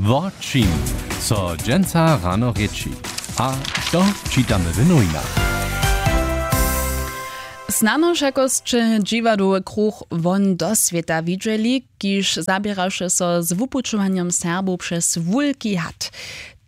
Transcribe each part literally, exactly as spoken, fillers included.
Wo čim so dźensa rano rěči a što čitamy w nowinach? Snano wšakosće dźiwadowy kruch won do swěta widźeli, kiž zaběraše so z wupućowanjom Serbow přez wulki had.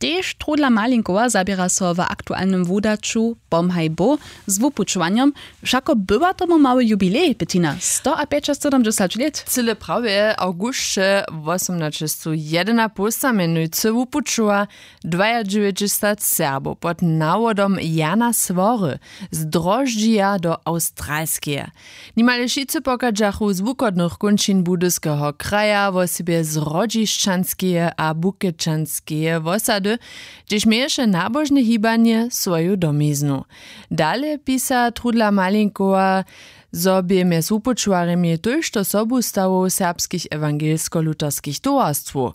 Tež trudla malinkowa zaběra so w aktualnym wudaću pomhaj bo z wupućowanjom. Wšako bywa tomu mały jubilej, Bettina, sto a pjećasydomdźesać lět. Cyle prawje, awgusće wosomnaćestu jedynapołsta mjenujcy wupućowa dwajadźewjećdźesat Serbow pod nawodom Jana Swory z Droždźija do Awstralskeje. Nimale wšitcy pochadźachu z wuchodnych kónčin Budyskeho kraja, wosebje z Hrodźišćanskeje a Bukečanskeje wosady, hdźež měješe nabožne hibanje swoju domiznu. Dale pisa trudla malinkowa, zo bě mjez wupućowarjemi tójšto sobustawow serbskich ewangelsko-lutherskich towarstwow.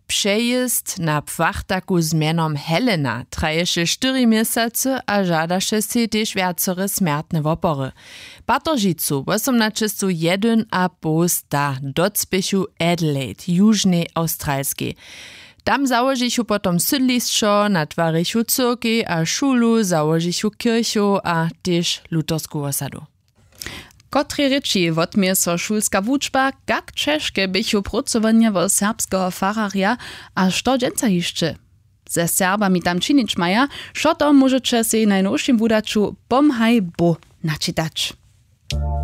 Přejězd na płachtaku z mjenom Helena traješe štyri měsacy a žadaše sej tež wjacore smjertne wopory. Pateržicu wosomnaćestu jedyn a poł sta docpěchu Adelaide, južnej Awstralskej. Tam załožichu potom sydlišćo, natwarichu cyrkej a šulu, załožichu kirchow a tež luthersku wosadu. Kotrej rěči wotměje so šulska wučba, kak ćežke běchu prócowanja wo serbskeho fararja a što dźensa hišće ze Serbami tam činić maja? Wšo to móžeće sej w najnowšim wudaću Pomhaj Bóh načitać.